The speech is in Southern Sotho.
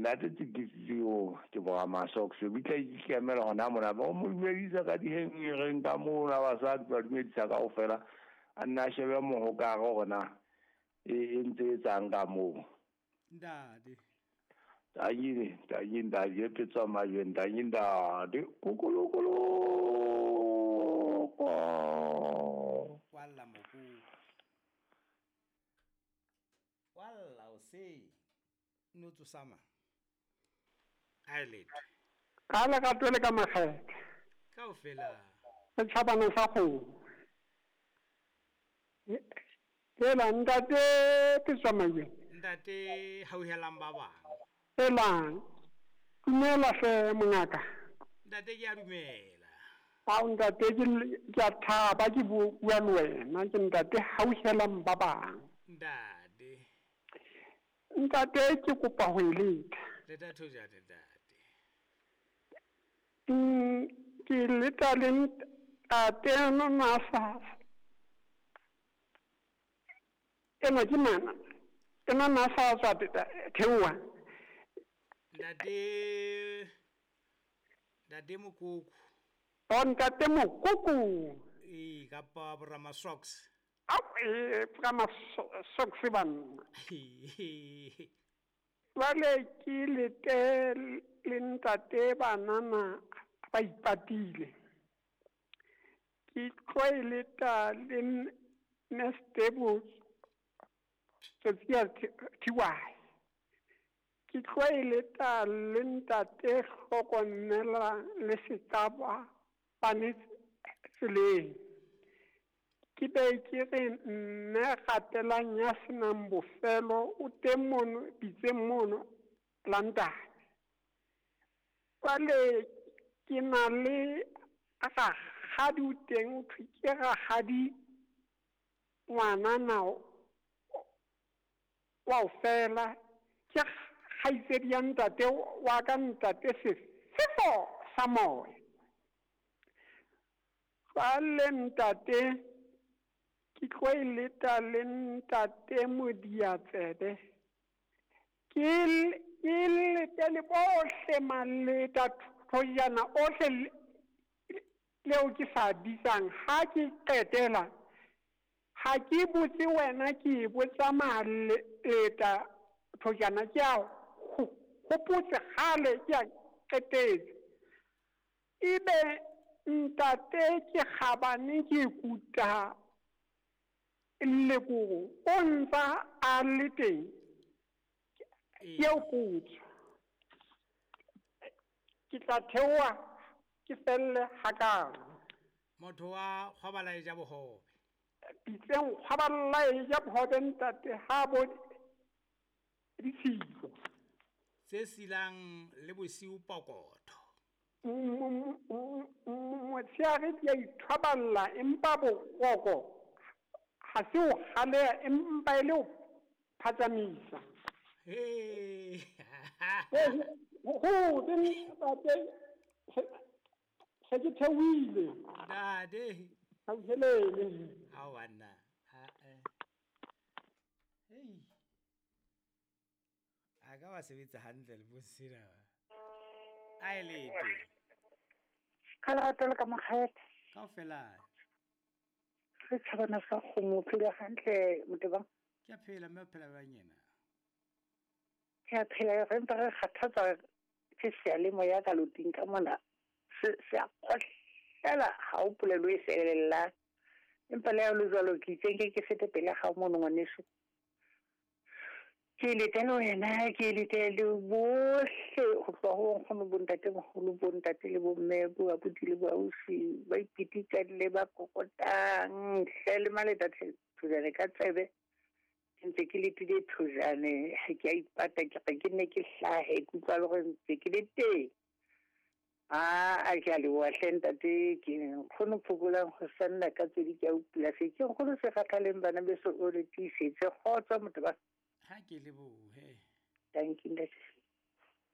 Ntate Tsikitsio ke bora Masox o bitla ikemela hona mona ba mo dumedisa ka dihengereng ka mona basadi ba dumedisa kaofela a nna a shebe mohokare hore na e ntse e etsang ka moo. Ntate. Tanyini, tanyini, ntate, petswa majweng, tanyini, ntate. Kukulukulu. Kwalla moko. Kwalla o se. No tsosama. A letho. Ka le ka twele ka makgethe. Kaofela. Setjhabana sa kgomo. Ela ntate Petswa Majweng. Ntate hauhelang ba bang. Elang. Dumela hle mongaka. Ntate ke a dumela. Ao ntate ke a thaba ke bua le wena ke ntate hauhelang ba bang. Ntate. Ntate ke kopa ho e leta. Leta thojane ntate. Ke leta le ntate na sa. Ena ke mana. Ena na sa tswa theoha. Ntate. Ntate Mokoko. O ntate Mokoko. E kapa Brahma Socks. Au e Brahma Socks banna. Jwale ke lete le ntate banana ba ipatile. Ke tlo e leta le Nestebo Tsotsiya Thiwae. Ke tlo e leta le ntate hlokomela le setaba bane tseleng. Ke be ke re mme gatelang ya senang bofelo o teng mono pitseng mono London. Jwale ke na le rakgadi o teng o thwe ke rakgadi ngwanana wa o fela ke kgaitsedi ya ntate wa ka ntate sefefo sa moya. Jwale ntate ke tlo e leta le ntate Modiatsebe. Ke lete le bohle maleta thojana ohle leo ke sa bitsang ha ke qetela. Ha ke botse wena ke botsa maleta thojana ke a hopotse kgale ke a qetetse. Ebe ntate ke kgabane ke kuta lekoko o ntsa a le teng. Ke o potso. Ke tla theoha ke felle hakalo. Motho wa kgwabala e ja bohobe. Pitseng kgwabala e ja bohobe ntate ha bo ditshilo. Tse silang le bosiu pokotho. Motsheare di a ithwaballa empa bokoko ha se o kgaleha empa e le o phatsamisa. Ho ntate se ke theohile. Ntate. Hauhelele. Ha banna. Ha Hey. A ka wa sebetsa hantle le bosina. A e lete. Ka lerato le ka mokgethe. Kaofela. Re tjhabana sa kgomo phela hantle motebang. Ke a phela mme o phela bang yena. Ke a phela re mpa re kgathatswa ke seyalemoya ka loting ka mona. Se a kgohlela ha o polelo e felella. Empa le ha o le jwalo ke itse nke ke fete pele ga mono ngwaneso. Ke lete le wena, ke lete le bohle ho tloha ho nkgono bo ntatemoholo bo ntate le bo mme bo abuti le bo ausi ba ipitikang le ba kokotang hle le maleta thojane ka tsebe. Ke ntse ke letile thojane ha ke a ipata ke re ke nne ke hlahe ke utlwa le hore ntse ke le teng. A ke a leboha hle ntate ke nkgono phokolang ho sanna ka tsedi ke a upula se ke nkgono se kgathaleng bana beso o le tiisetse kgotso motho ba. Ha ke lebohe. Thank you ntate.